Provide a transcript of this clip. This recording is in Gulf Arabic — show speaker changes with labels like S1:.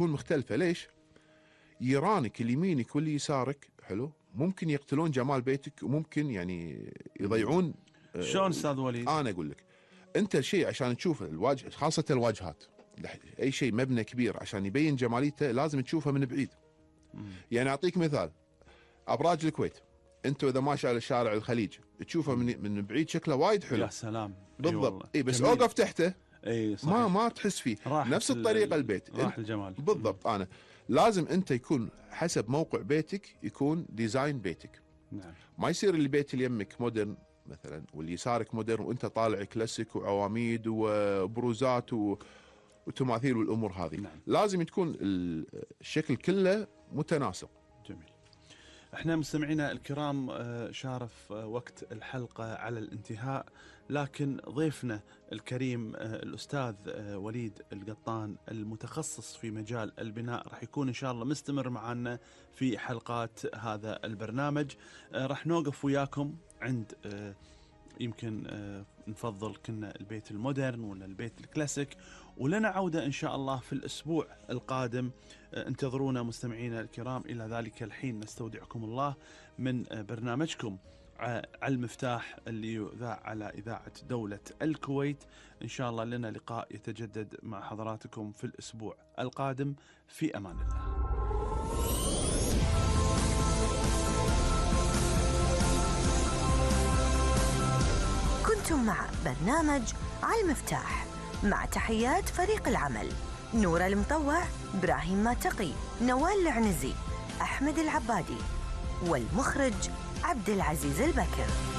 S1: تكون مختلفة. ليش؟ يرانك اللي يمينك واللي يسارك حلو ممكن يقتلون جمال بيتك، وممكن يعني يضيعون.
S2: شلون استاذ وليد؟
S1: انا اقول لك، انت شيء عشان تشوف الواجهة، خاصة الواجهات، اي شيء مبنى كبير عشان يبين جماليته لازم تشوفه من بعيد. يعني اعطيك مثال، ابراج الكويت، انت اذا ماشي على شارع الخليج تشوفه من بعيد شكله وايد حلو.
S2: يا سلام.
S1: بالضبط. اي بس اوقف تحته
S2: اي صحيح.
S1: ما تحس فيه نفس الطريقة. البيت
S2: راح الجمال.
S1: بالضبط. انا لازم انت يكون حسب موقع بيتك، يكون ديزاين بيتك.
S2: نعم.
S1: ما يصير اللي بيت اللي يمك مودرن مثلا واللي يسارك مودرن وانت طالع كلاسيك وعواميد وبروزات وتماثيل والامور هذه.
S2: نعم.
S1: لازم تكون الشكل كله متناسق.
S2: جميل. احنا مستمعينا الكرام شارف وقت الحلقة على الانتهاء، لكن ضيفنا الكريم الأستاذ وليد القطان المتخصص في مجال البناء راح يكون إن شاء الله مستمر معنا في حلقات هذا البرنامج. راح نوقف وياكم عند يمكن نفضل كنا البيت المودرن ولا البيت الكلاسيك، ولنا عودة إن شاء الله في الأسبوع القادم. انتظرونا مستمعينا الكرام. إلى ذلك الحين نستودعكم الله من برنامجكم على المفتاح اللي يذاع على إذاعة دولة الكويت. إن شاء الله لنا لقاء يتجدد مع حضراتكم في الأسبوع القادم. في أمان الله.
S3: كنتم مع برنامج على المفتاح مع تحيات فريق العمل: نور المطوع، إبراهيم ماتقي، نوال العنزي، أحمد العبادي، والمخرج عبد العزيز البكر.